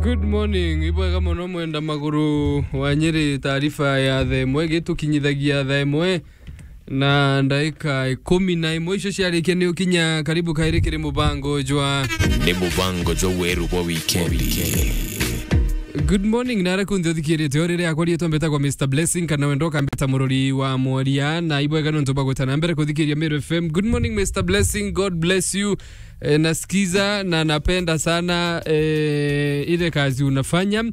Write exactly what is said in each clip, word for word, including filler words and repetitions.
Good morning. Ibwega mono mwenda maguru wa Nyeri, taarifa ya thaa imwe gitukinyithagia thaa imwe na ndaika ikumi na imwe icio ciarikia ni ukinya. Karibu kairi kiri mubango jwa Ni mubango jwa weru bwa wikendi. Good morning, na ara kunthe uthikirite o riri akwa rietwa mbetagwa Mister Blessing, kana wenda ukambeta murori wa mworia, na ibwega nontu bwa gwita na mbere kuthikiria Meru F M. Good morning, Mister Blessing, God bless you. Eh, nasikiza na napenda sana, eh, ile kazi unafanya.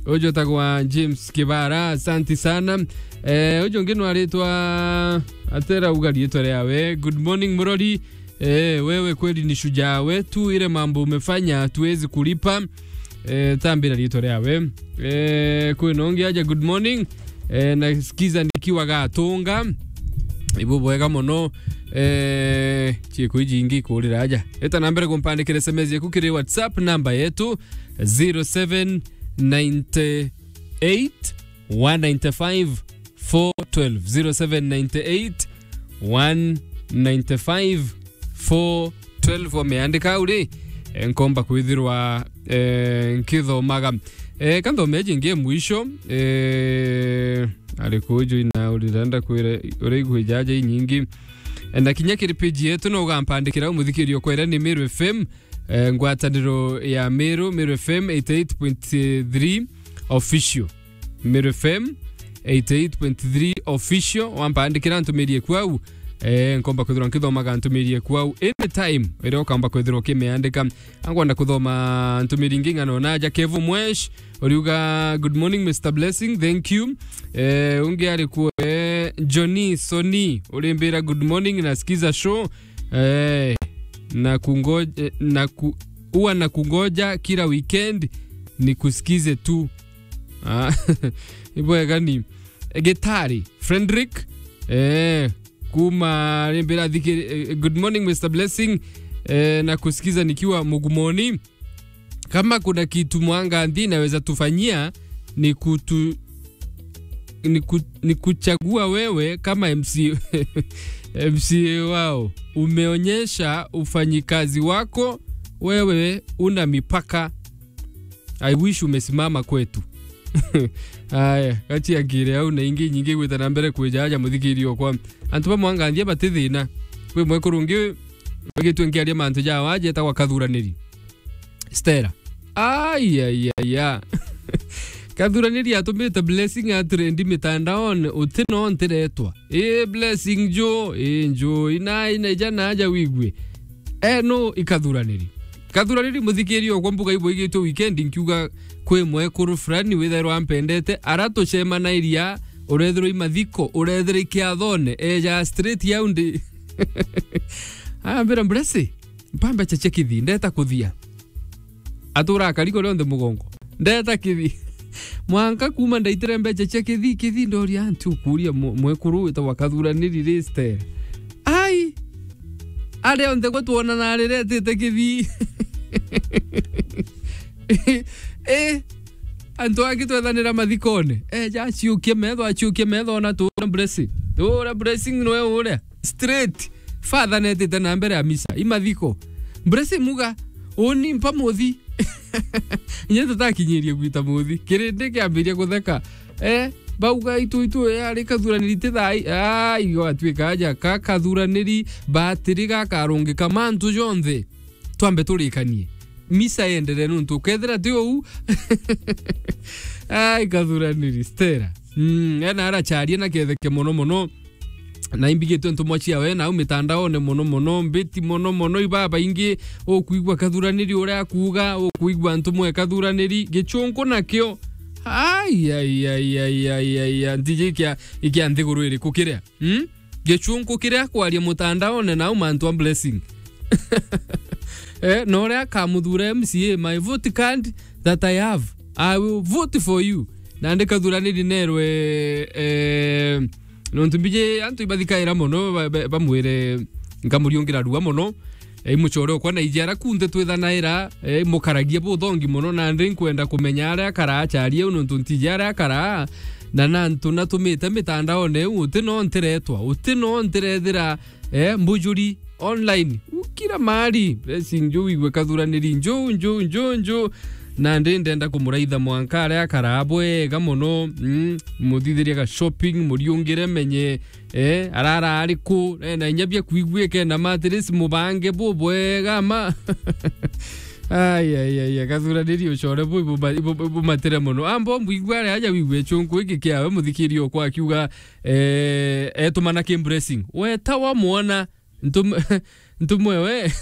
Uju etagwa James Kibara, asanti sana. Eh, uju ungi nwaritwa, atera uga riitwa riawe. Good morning, murori. Eh, wewe kweli ni shujaa wetu, ile mambo umefanya hatuwezi kulipa. Eh, tambira riitwa riawe. Eh, kwina ungi aja, good morning. Eh, nasikiza nikiwa Gatunga. Ibu bwega mono. Eh, ciiko iji ingi ikurira aja. Eta na mbere kumpandikira S M S yaku kiri WhatsApp namba yetu, zero seven nine eight, one nine five, four twelve, zero seven nine eight, one nine five, four twelve. Wameandika au ri, eh, nkomba kwithirwa, eh, nkithomaga. Eh, kanthome jingi ya mwisho, eh, ari kuju ina urirenda kwira, uraigua ijaja inyingi. Eh, na kinya kiri page yetu no ugampandikira au muthikirio kwera ni Meru F M, eh, ngwataniro ya Meru, Meru F M eighty eight point three official. Meru F M eighty eight point three official, wampandikira ntumirie kwau. Eh, nkomba kwithirwa nkithomaga ntumirie kwau anytime, iria ukamba kwithirwa ukimiandika. Angwenda kuthoma ntumiri ingi ng'ano naja. Kevu Mwesh, uriuga, "Good morning, Mister Blessing, thank you." Eh, ungi ari kuo, eh, Johnny Soni, urimbira, "Good morning, nasikiza show." Eh, na kungoja, eh, na ku-, huwa na kungoja kila weekend nikusikize tu. Ah, ibwega ni. Gitari, Frederick, eh, kuma rimbira thikiri, eh, "Good morning, Mister Blessing, eh, na kusikiza nikiwa Mugumoni. Kama kuna kitu Mwanganthi naweza tufanyia ni kutu-, ni ku-, ni kuchagua wewe kama M C, M C A wao. Umeonyesha ufanyikazi wako, wewe una mipaka." I wish umesimama kwetu. Aya, gaciakire au na ingi nyingi gwita na mbere kwija aja muthikiri okwa. Antu ba Mwanganthia bati thina. Kwi mwekuru ungi wigitwe nkiaria mantu ja waje etagwa Kathuraniri. Stella. Ai, ai, ai, ai. Kathuraniri atumite Blessing atrendi mitandaone, uti no ntiretwa. Ii Blessing nju, ii nju, ina, ina, ija na aja wigue. Eh, no ikathuraniri. Kathuraniri muthikiri okwa mbuga ibo igitwe weekend nkiuga kwi mwekuru fulani withairwa ampendete, ara tucemanairia, urethirwa imathiko, urethirwa ikiathone, eja straight au ndi. Ambira Blessing, mpambe cheche kithi, ndeta kuthia. Atura akari kuria onthe mugongo. Ndeta kithi. Mwanka kuma ndaitire mbecha cia kithi, kithi ndoria antu ukuria mu-, mwekuru witagwa Kathuraniri ri Stella. Ai! Aria onthe gwe twonana ariretite kithi. Eh, antu angi twethanira mathikone. Eh, ja aciukie metho, aciukie metho ona tuura Blessing. Tuura Blessing nwe uria. Straight. Father netite na mbere ya misa. Imathiko. Blessing muga, uni mpa muthi. Inya tutakinyirie gwita muthi. Kirindi kiambiria kutheka. Eh, bauga itu, itu, eh, ari Kathuraniri ti thai. Ai, gwatuika aja ka Kathuraniri, batiri gakarungika mantu jonthe. Twambe turikanie. Misa yenderee nuntu ukethira ti uu. Ai, Kathuraniri, Stella. Mm, ena aracharia na ketheke mono mono. Na imbigitwe ntumwa ciawe nau mitandaone mono mono, mbiti mono mono, ibabaingi ukuigua Kathuraniri uria akuuga, ukuigua ntumwa e Kathuraniri, gichunku nakio. Ai, ai, ai, ai, ai, ai, ai, ntiji ikia, ikia nthiguru iriku kiria? Hmm? Gichunku kiria kwaria mutandaone nau mantu a Blessing. Eh, na uria akamuthura M C A, my vote card that I have, I will vote for you. Nandi Kathuraniri nerwe, eh, nontu mbiji antu ibathikaira mono, ba-, ba-, bamwire nkamuriungira rua mono. Eh, imucore okwa na iji ara kunthe twithanaira, eh, imukaragia buthongi mono, nandi nkwenda kumenya aria akaraa acharia u, nontu ntiji aria akaraa, na nantu natumite mitandaone u, uti no ntiretwa, uti no ntirethira, eh, mbujuri online. Ukira mari, Blessing nju, wigwe Kathuraniri nju, nju, nju, nju. Nandi ndenda kumuraitha mwanka aria akaraa bwega mono, mm, muthithirie ga shopping, muriungire menye, eh, arara ariku, eh, na inya bia kuiguike na ma at least mubange bubwega ma. Ai, ai, ai, ai, gathuraniri ucore bu, bu, bu, bu, bumatire mono. Ambo mbwigua aria aja wigue chunku iki kiawe muthikiri okwa akiuga, eh, etumana ki blessing. Weta wamwona, ntum-, ntumwe we.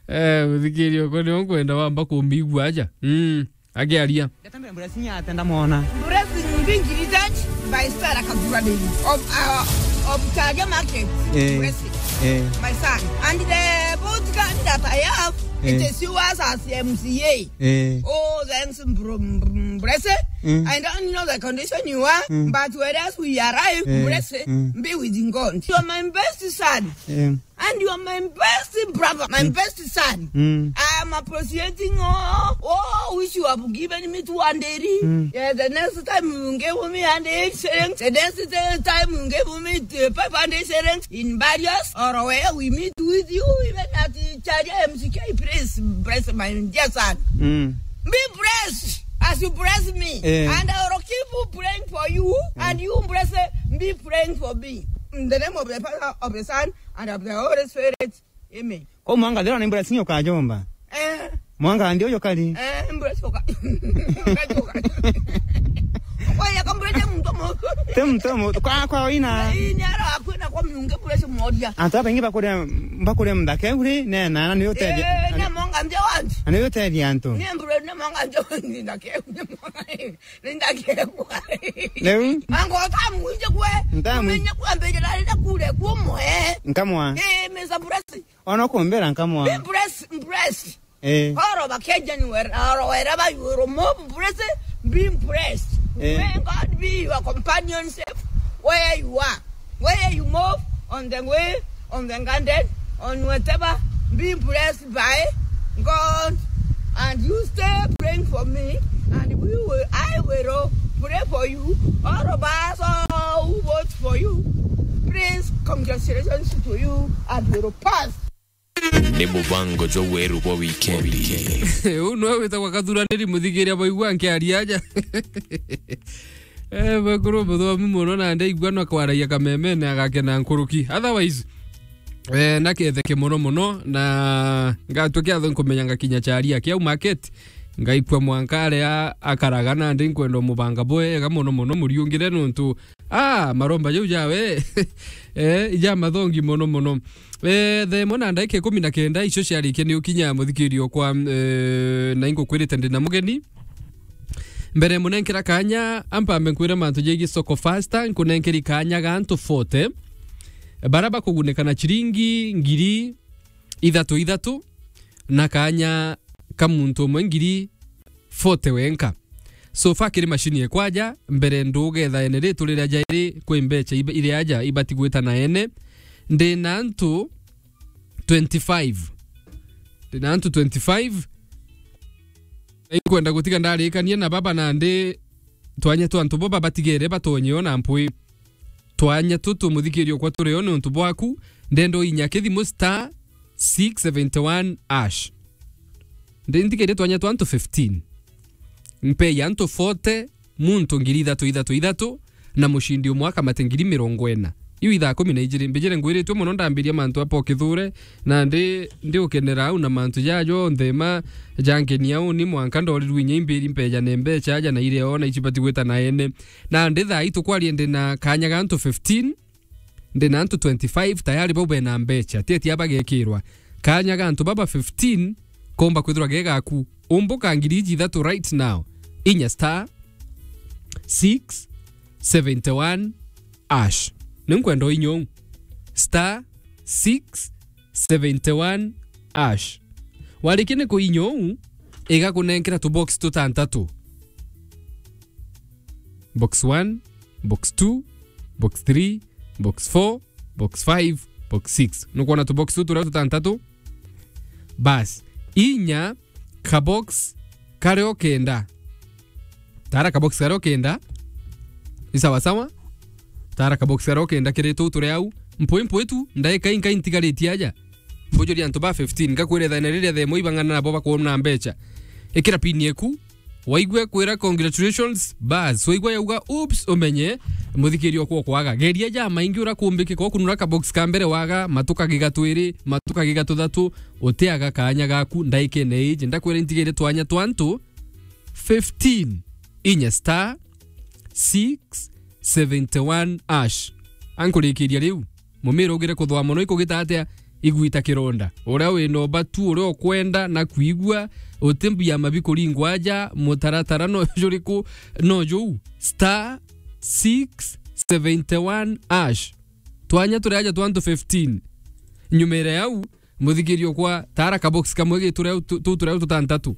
Eh, muthikiri okwa nio nkwenda wamba kumigua aja. Mm, akiaria. Ngatambira blessing ate ndamwona. Blessing being greeted by Sarah Kathura Davis of, uh, of Charia Market. Eh. Blessing. Eh. My son. And the boat gun that I have, eh, it is yours as M C A. Eh. Oh, thanks, bro, blessing. Mm. I don't know the condition you are, mm, but whereas we arrive, eh, blessing, mm, be with God. You are my best son. Eh. And you are my best brother, my, mm, best son. Mm. I am appreciating all, all which you have given me to Anderi. Mm. Yeah, the next time you give me hundred shillings, the next time you give me the five hundred shillings in various or where we meet with you, even at the Charia M C K, please bless my dear son. Mm. Be blessed as you bless me. Eh. And I will keep praying for you, mm, and you bless, be praying for me. In the name of the Father, of the Son, and of the Holy Spirit. Amen. Ko mwanga thira ni blessing ukajomba. Eh. Mwanga ndio uyo kari. Eh, blessing uka-, ukajoka. Oya, ka blessing muntu mu. Te muntu mu, kwa, kwa ina. Ii, ni ara akwina kwa miunge blessing moria. Antu abengi bakure, bakure mdake uri, ne, na, na, ni uteria. Eh, na mwanga ndio wantu. Na ni uteria antu. Ni blessing na mwanga ndio wantu ndake. Ni ndakegwa. Riu? Ango tamu inje kwe. Ntamu. Umenye kwambira rira kure kumwe. Nkamwa. Eh, mesa blessing. Ona kumbira nkamwa. Be blessed, blessed. Eh. Oro bakeja ni wera, oro wera ba you will move blessed, be blessed. Eh. May God be your companionship where you are. Where you move on the way, on the garden, on whatever, be blessed by God. And you stay praying for me, and we will, I will pray for you. All of us, all who vote for you, please, congratulations to you, and will pass. Ni mubango jwa weru bwa wikendi. Uu nwe witagwa Gathuraniri, muthikiria baigua nkiaria aja. Eh, bakuru muthomi muno na ndaigua no kwaragia kamemene agakena nkuruki. Otherwise, eh, naketheke muno muno na ngatwe kiatho nkumenya ngakinya charia kiau market. Ngaikua mwanka aria akaraga nandi nkwenda umubanga bwega muno muno muriungire nontu Ah, maromba jau jawe. Eh, ija mathongi mono mono. Eh, thaa imwe na ndagika ikumi na kenda icio ciarikia ni ukinya muthikiri okwa, eh, na ingukwirite ndi na mugeni. Mbere munenkera kanya, ampambe nkwire mantu jegi soko faster, nkunenkeri kanya ga antu forty. Bara bakugunika na chiringi ngiri ithatu ithatu, na kanya ka muntu umwe ngiri forty wenka. So far kiri mashini ekwaja, mbere ndugetha ene ritu riria jairi kwi mbecha iba-, iria aja ibati gwita na ene. Ndi na antu twenty-five. Ndi na antu twenty-five. Na inkwenda gutiga ndarikania na baba nandi twanya twa antu bo babatigere batonye o na mpwi. Twanya tutu muthikiri okwa turi o niuntu bwaku, ndenda uinya kithimu star six seventy one hash. Ndi nthikiri twanya twa antu fifteen. Mpei antu forty, muntu ngiri ithatu ithatu ithatu, na mucindi umwe akamate ngiri mirongo ina. Iu ithaa kumi na ijiri, mbijire ngwiritue mono ndambiria mantu apa ukithure, na ndi, ndi ukenera au na mantu jaja jonthe ma jankenia uni mwanka ndorirue inya imbiri mpeja na mbecha aja na iria ona ichibati gwita na ene. Na ndi thaa ii tukwaria ndi na kanya ga antu fifteen, ndi na antu twenty-five tayari bau bena mbecha, ti ati abagekirwa. Kanya ga antu baba fifteen komba kwithirwa ge gaku. Umbuka ngiri iji ithatu right now. Inya star six seventy one hash. Ni nkwenda uinya uu. Star six seventy one hash. Warikia ni kuinya uu, igakunenkera tubox tutantatu. Box one, box two, box three, box four, box five, box six. Nukwona tubox tutu turia tutantatu? Bas, inya kabox karia ukenda. Tara kabox karia ukenda. Ni sawa sawa. Tara kabox karia ukenda kiri tutu turia au. Mpwi mpwi tu, ndaika inka intigaritie aja. Mbujuria antu ba fifteen, ngakwira ithana riria themo ibang'ana nabo bakwona mbecha. Ikira pin yeku. Waigua kwira congratulations, bas. Waigua yauga oops, umenye muthikiria okwa kwaga. Geria ja maingi ura kumbikika, ukunura ka box ka mbere waga, matuka giga twiri, matuka giga tuthatu, utiaga kanya gaku ndaikene iji. Ndakwira ntigire twanya twa antu fifteen, inya star six seventy one hash. Ankurikiria riu. Mumira ugire kuthwa mono, ikugita atia? Igwita kironda. Uria wi nomba tu, uria ukwenda na kwigua, uti mbia mabi kuringwa aja, mutaratara no juriku, no juu. Star six seventy one hash. Twanya turi aja twa antu fifteen. Nyumire yau, muthikirio kwa tara ka box kamwe gi turia tu, tu, turia tutantatu.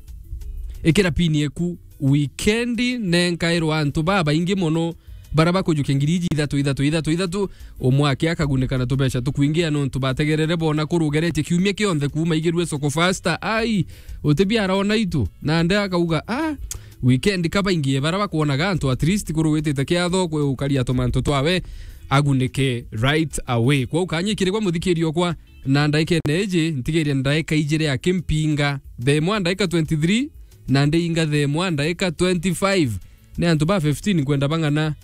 Ikira pin yeku. Weekend nenkairwa antu babaingi mono bara bakujukia ngiri iji ithatu, ithatu, ithatu, ithatu, umwe aki akagunika na tubeca tukwingia nontu bategerere bona kurugeretie kiumia kionthe kuuma igirue soko fasta. Ai, utibia arona itu. Na nde akauga, ah, weekend kabaingie bara bakwonaga antu at least kurugitite kiatho kwe ukaria tumantu twawe agunike right away. Kwou kanyikirigwa muthikirio kwa na ndaikene iji, ntigirie ndaika ijiri akimpinga. Themwa ndaika twenty three, na ndiinga themwa ndaika twenty five. Ni antu ba fifteen kwenda bang'ana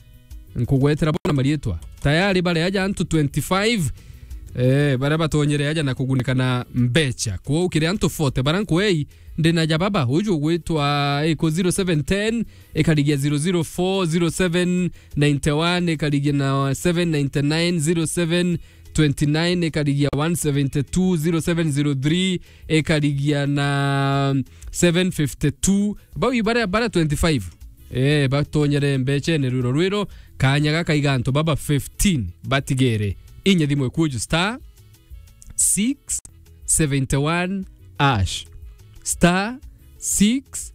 nkugwetera bona marietwa. Tayari bare aja antu twenty five, eh, baria batonyere aja na kugunika na mbecha. Kwou kiri antu forty, bara nkwei, ndina ja baba, uju ugwitwa, eh, ku zero seven ten, ikarigia zero zero four, zero seven ninety one, ikarigia na seven ninety nine, zero seven twenty nine, ikarigia one seventy two, zero seven zero three, ikarigia na seven fifty two. Bau ibaria, bara twenty five. Eh, batonyere mbechene rwiro rwiro, kanya gakaiga antu baba fifteen batigere. Inya thimu ikuju star six seventy one hash. Star six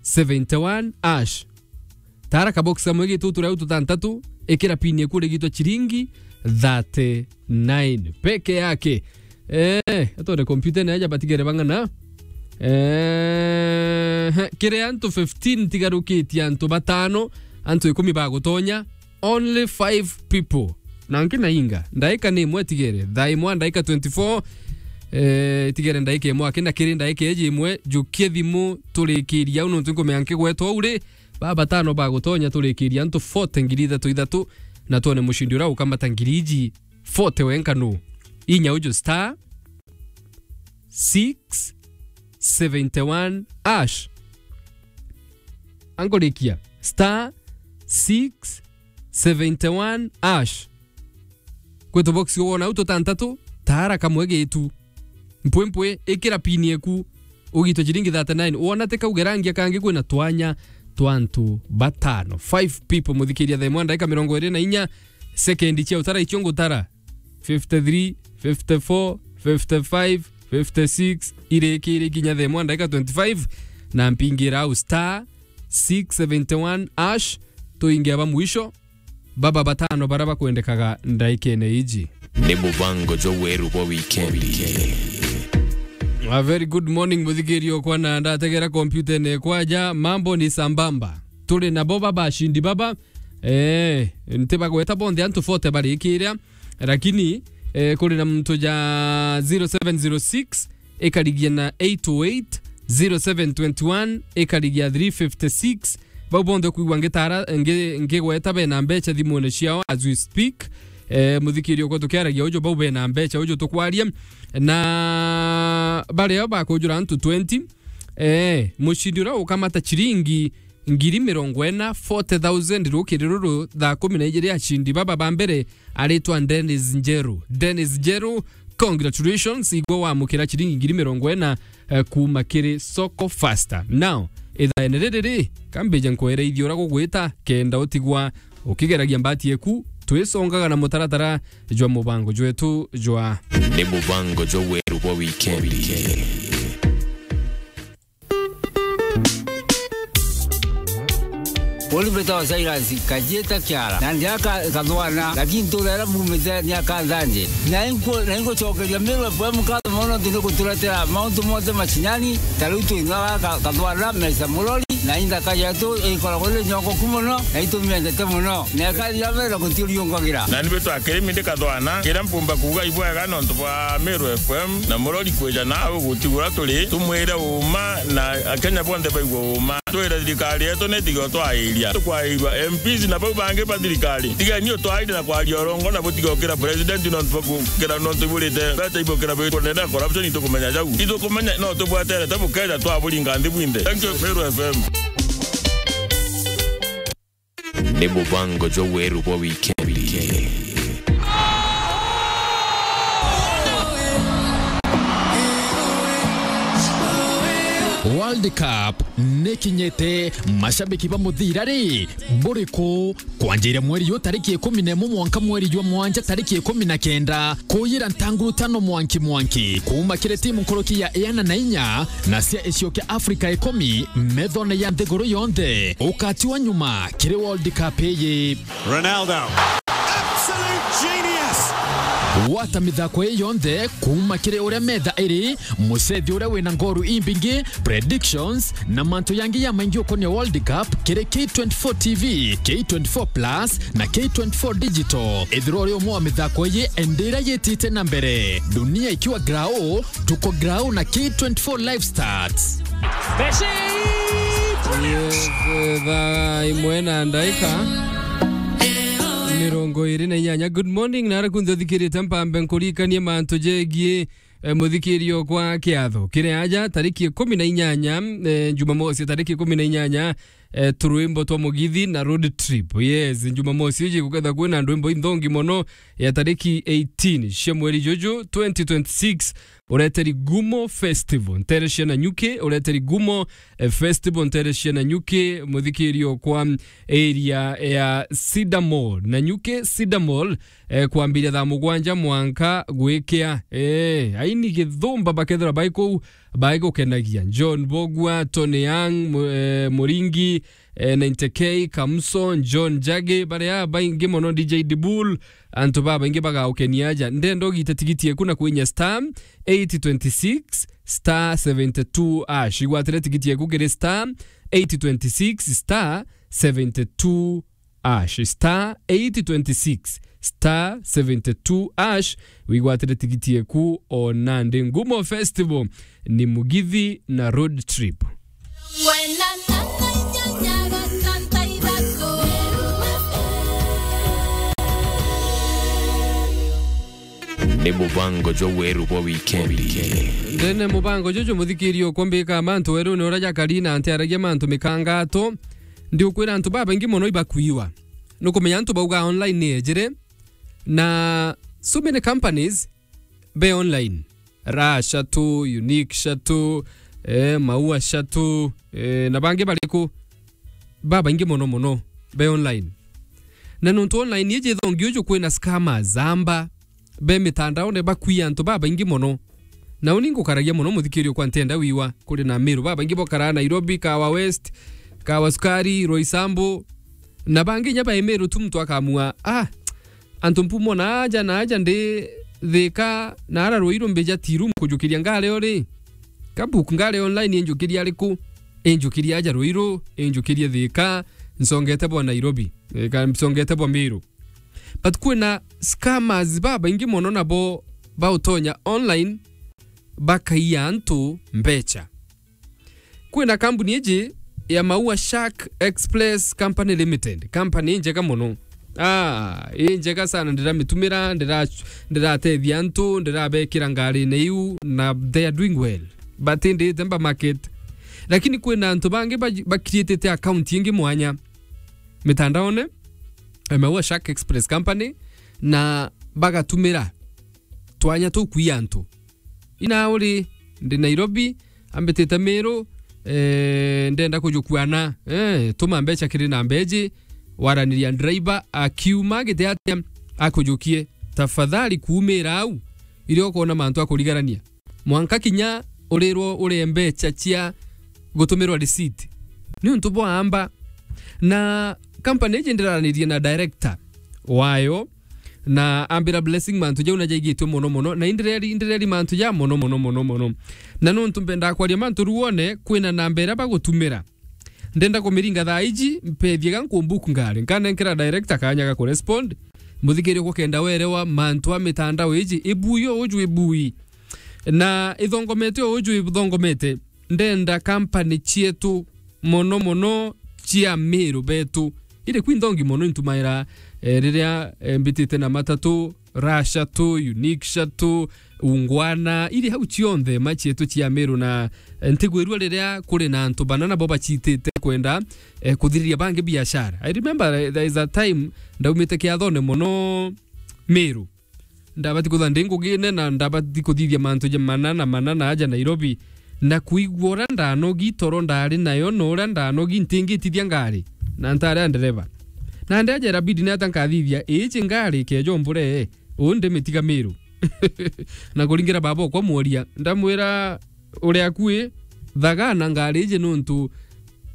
seventy one hash. Tara ka box kamwe gitu turia tutantatu, ikira pin yeku urigitwe chiringi thirty nine peke yake. Eh, atore computer ni aja batigere bang'ana. Eh, kiri antu fifteen tigarukitie antu batano, antu ikumi bagutonya. Only five people. Na nki nainga, ndaika ni imwe tigere. Thaa imwe ndaika twenty four, eh, tigere ndaika imwe. Akina kiri ndaika iji imwe, jukie thimu turikiria au nontu nkumenya nkigwetwa uri. Baba batano bagutonya turikiria antu forty, ngiri ithatu ithatu, na twone mushindi uria ukamata ngiri iji forty wenka nu. Inya uju star six seventy one hash. Ankurikia star six seventy one hash. Kwitu box wona au tutantatu, tara kamwe gitu. Mpwimpwi, ikira pin yeku, ugitwe chiringi thirty nine. Wona ti kaugerangia kangi kwina twanya twa antu batano. Five people, muthikiria, thaa imwe ndaika mirongo iri na inya, sekendi cia utara icio ngutara. Fifty three, fifty four, fifty five, fifty six, irikiri kinya thaa imwe ndaika twenty five, na mpingira au star six seventy one hash, tuingia ba mwisho, baba batano bara bakwendekaga ndaikene iji. Ni mubango jwa weru bwa wikendi. A very good morning, muthikirio kwa na ndategera kompyutene kwaja, mambo ni sambamba. Turi nabo baba ashindi baba, eh, nti bagweta bonthe antu forty barikiria, lakini, eh, kuri na muntu ja zero seven zero six, ikarigia na eight oh eight, zero seven twenty one, ikarigia three fifty six. Bau bonthe kwigua ngitara, ngi-, ngigweta bena mbecha thimune ciao as we speak. Eh, muthikirio kwa tukiaragia uju, bau bena mbecha uju tukwaria. Na baria bakujura antu twenty, eh, mushindi uria ukamata chiringi ngiri mirongo ina, forty thousand, rukiri ruru thaa kumi na ijiri, ashindi baba ba mbere aritwa Dennis Njeru. Dennis Njeru, congratulations, igwe wamukira chiringi ngiri mirongo ina, eh, kuma kiri Soko Faster. Now, ithaene riri ri, kambije nkwere ithia uria gugwita, kenda utigwa ukigeragia mbati eku, twisongaga na mutaratara jwa mubango jwetu jwa. Ni mubango jwa weru bwa wikendi. Uri mbitawa Cyrus Kajiita Kiara, na ndi aka Kathwana, lakini ntuura iria mbumite ni aka Nthanje. Na ingu-, na ingucokeria Meru F M nkatho Mono nontu ni guturetera mauntu monthe macinyani, ta riu twinaga ka-, kathwana mesa murori, na inthaka yetu ikoragwo iri nyongoku mono, na itumendete mono. Na ikari ya mbere gutiuriungagira. Na ni bitwa kirimi ndi kathwana, kiria mpumba kuuga ibwega nontu bwa Meru F M, na murori kwija na au gutigura turi, tumwire uuma, na Akenya bonthe baigua uuma. Twire thirikari yetu ni tiga utwairia. Tukwairua M Ps na bau bangi ba thirikari. Tigeni utwaire na kwaria urongo na butige ukira president nontu bwa gukira nontu iburite. Bete ibukira bwitwa nenda corruption itukumenya jau. Itukumenya no tubweterete bukeja twaburinga nthi bwinthe. Thank you, Meru F M. Ni mubango jwa weru bwa wikendi. World Cup nikinyite, mashabiki ba muthira ri, buriku? Kwanjira mweri yu tariki ikumi na imwe mwanka mweri jwa mwanja tariki ikumi na kenda, kuyira ntangurutano mwanki mwanki, kuuma kiri timu nkuruki ya iana na inya na cia icio kia Afrika ikumi, methone ya nthiguru yonthe, ukatiwa nyuma kiri World Cup iyi. Ronaldo. Absolute genius. Gwata mithako ii yonthe kuuma kiri uria metha iri, mucethi uria wina ngoru imbingi, predictions, na mantu yangi ya maingi ukonia World Cup kiri K twenty-four T V, K twenty-four Plus, na K twenty-four Digital. Ithirwa uri umwe wa mithako ii, indi iria yitite na mbere. Dunia ikiwa grau, tuko grau na K twenty-four Live Stats. Yes, eh, thaa imwe na ndaika mirongo iri na inyanya. Good morning, na aria kunthe uthikirite, mpambe nkurikanie mantu jegie, eh, muthikirio kwa kiatho kiri aja tariki ikumi na inyanya, eh, Jumamosi tariki ikumi na inyanya, eh, turwimbo twa mugithi na road trip. Yes, Jumamosi iji guketha kwina ndwimbo inthongi mono ya tariki eighteen cia mweri juju twenty twenty-six, ureteri Gumo Festival, ntere cia Nanyuki, ureteri Gumo, eh, Festival, ntere cia Nanyuki, muthikirio kwa area ya Cedar Mall. Nanyuki Cedar Mall, eh, kwambiria thaa mugwanja mwanka gwikia. Eh, aini githumba bakethirwa bai kuu, baigukenagia. John Bogwa, Tony Young, Mu-, eh, Muringi, eh, ninety K, Kamso, John Jage, baria baingi mono, D J Dibul, antu babaingi bagaukenia aja. Ndenda ugite tigiti eku na kwinya star eight twenty-six star seventy-two hash. Igwatire tigiti eku kiri star eight twenty-six star seventy-two hash. Star eight twenty-six star seventy-two hash. Wigwatire tigiti eku o nandi. Ngumo Festival ni mugithi na road trip. Ni mubango jwa weru bwa wikendi. Ndene mubango juju, muthikirio, kumbika mantu werune uria jakari na ntiaragia mantu mikangato. Ndiukwira antu babaingi mono ibakuiwa. Nukumenya antu bauga online ni ejire, na so many companies be online. Raha Shuttle, Unique Shuttle, eh, Maua Shuttle, eh, na bangi bariku babaingi mono mono be online. Na nontu online iji ithongi uju kwina scammers, amba be mitandaone bakwia antu babaingi mono. Na uni ngukaragia mono muthikirio kwa ntienda wiwa, kuri na Meru babaingi bokaraa Nairobi, Kawa West, Kawa Sukari, Roysambu, na bangi inya ba Meru tu muntu akamua, ah, antu mpumona aja na aja ndi Thika na ara Ruiru mbija tea room kujukiria ngari uri. Kabuk ngari online injukiria ariku? Injukiria aja Ruiru, injukiria Thika, nsongete bwa Nairobi, eh, ka nsongete bwa Meru. But kwina scammers babaingi mono nabo bautonya online bakaiya antu mbecha. Kwina kambuni iji ya Maua Shark Express Company Limited. Company injega mono. Ah, injega sana, ndiramitumira, ndira-, ndiratethia antu, ndirabekira ngarine iu, na they are doing well. But ndite mba market. Lakini kwina antu bangi ba-, ba create account ingi mwanya mitandaone, eh, Maua Shark Express Company, na bagatumira twanya tuu kwia antu. Ina uri, ndi Nairobi, ambitite Meru, eh, ndenda kujukua na, eh, tuma mbecha kiri namba iji, waraniria driver, akiuma giti atia, akujukie. Tafadhali kuumira au, iria ukoona mantu akurigarania. Mwanka kinya urirwo urie mbecha cia gutumirwa receipt. Niuntu bwa amba. Na company iji ndiraranirie na director wayo, Na ambira Blessing mantu jau na jaigitwe mono mono, na indireri, indireri mantu ja mono mono mono mono. Na nontu mbendaa kwaria mantu ruone, kwina namba iria bagutumira. Ndenda kumiringa thaa iji, mpethie ga nkumbuku ngari. Nkanenkera director kanya ga kurespond. Muthikiria gukenda werewa mantu a mitandao iji, ibui o uju ibui. Na ithongomete o uju ithongomete. Ndenda company cietu mono mono cia Miru betu. Iri kwi nthongi mono intumaira, eh, riria, eh, mbitite na matatu, Ra Shuttle, Unique Shuttle, Ungwana, iri hau cionthe ma cietu cia Miru na, eh, ntigwirua riria kuri na antu bana nabo bacitite kwenda, eh, kuthiriria bangi biashara. I remember, eh, there is a time ndaumite kiathone mono Miru. Ndabati kutha ndi ngugine na ndabati kuthithia mantu ja mana na mana na aja Nairobi. Na kuigua uria ndanogi toro ndari nayo na uria ndanogi ntingitithia ngari. Na ntari a ndereba. Na ndi aja irabidi ni ata nkathithia iji ngari ikeja umbure uu ndimitiga Miru. Na kuringira baba okwa mworia, ndamwira, uri akui, thagana ngari iji nontu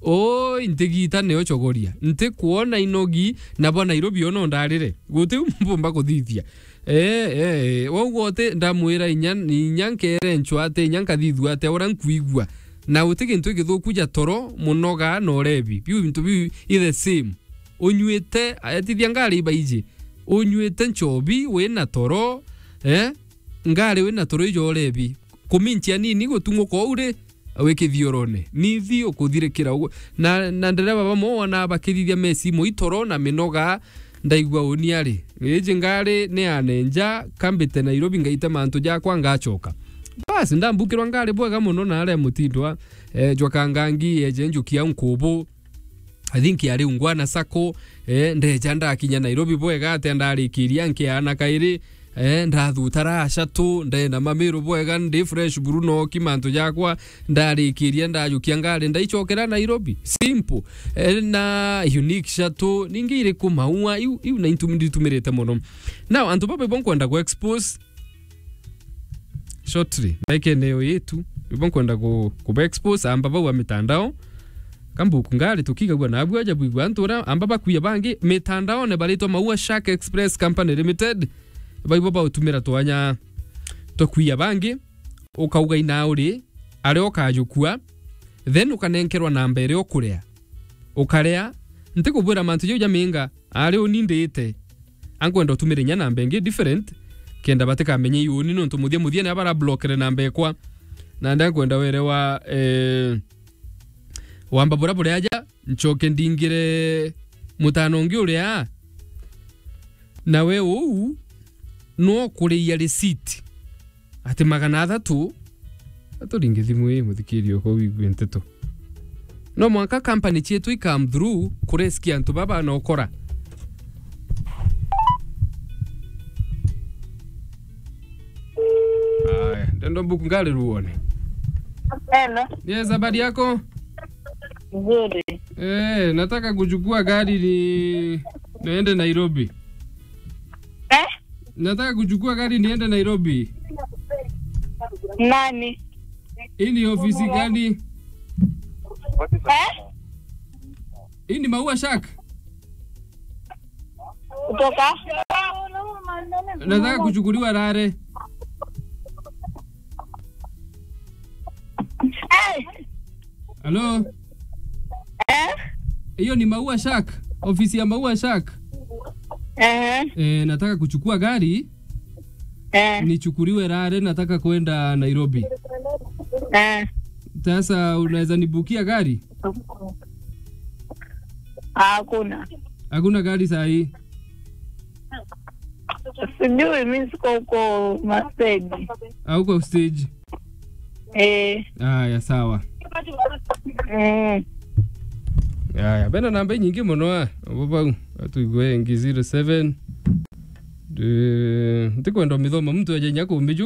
uu ntigita nio chogoria. Ntikwona inogi na bwa Nairobi ono ndarire. Guti u mbumba kuthithia. Eh, eh, eh. Wauga uti ndamwira inya, inya nkere nchwa ati inya nkathithua ati uria nkwigua. Na guti gintu githuku ja toro, munoga na urebi. Biu bintu biu i the same. Unyuite, etithia ngari ibaiji. Unyuite nchobi, wina toro, eh? Ngari wina toro ijo urebi. Kuminchia nini gutung'uka uu ri, wi kithiorone. Nithi ukuthirikira uguo. Na, na ndereba bamwe wona bakithithia mesimu itoro na minoga, ndaigua uni ari. Iji ngari ni anenja, kambite Nairobi ngaita mantu jakwa ngachoka. Basi, ndambukirwa ngari bwega mono na aria mutindwa, eh, jwa Kangangi, eje njukia nkubu. I think yari Ungwana Sacco, eh, ndeja ndakinya Nairobi bwega, atia ndarikiria nkiana kairi, eh, ndathuta Ra Shuttle, ndenda Mamiru bwega, ndi fresh Bruno ki mantu jakwa, ndarikiria ndajukia ngari, ndaichokera Nairobi. Simple. Eh, na Unique Shuttle, ningi iriku Maua, iu, iu na intu nditumirite mono. Now, antu baba ibo nkwenda ku expose, shortly, ndagikene iyo yitu, ibo nkwenda ku, kuba expose, amba bau a mitandao, kambuku ngari tukigagua nabu aja bwigua antu uria, amba bakuia bangi, mitandaone baritwa Maua Shark Express Company Limited, baibo bautumira twanya twa kuia bangi, ukauga ina uri, aria ukajukua, then ukanenkerwa namba iria ukurea. Ukarea, ntikubwira mantu jau jaminga, ari uni ndite. Ankwenda utumire inya namba ingi different, kenda batikamenya i uni, nontu muthia muthia ni abara blockere namba ekwa. Na ndi ankwenda werewa, eh, wamba bura buri aja, nchoke ndingire mutano ungi uria. Nawe uu, no kuria receipt. Ati magana athatu, aturinge thimu ii, muthikirio, ko wigue nteto. No mwanka company cietu i come through kurescue antu baba na ukora. Aya, ndendo mbuku ngari ruone. Hello. Yes, habari yako? Nzuri. Eh, nataka kuchukua gari ni, niende Nairobi. Eh? Nataka kuchukua gari niende Nairobi. Nani? Hii ni ofisi gani? Eh? Hii ni Maua Shark? Kutoka? Nataka kuchukuliwa Rare. Eh? Hello? Eh? Hiyo ni Maua Shark? Ofisi ya Maua Shark? Eh. Eh, nataka kuchukua gari. Eh. Nichukuliwe Rare, nataka kwenda Nairobi. Eh. Sasa unaweza nibukia gari? Hakuna. Hakuna gari saa hii? Sijui, mi siko huko ma stage. Ah, huko stage. Eh. Aya, sawa. Mm. Aya, bena namba inyingi mono a, abo bau, atuigwe ingi zero seven. Eh, ntikwenda mithoma muntu aja inya kumbijukia.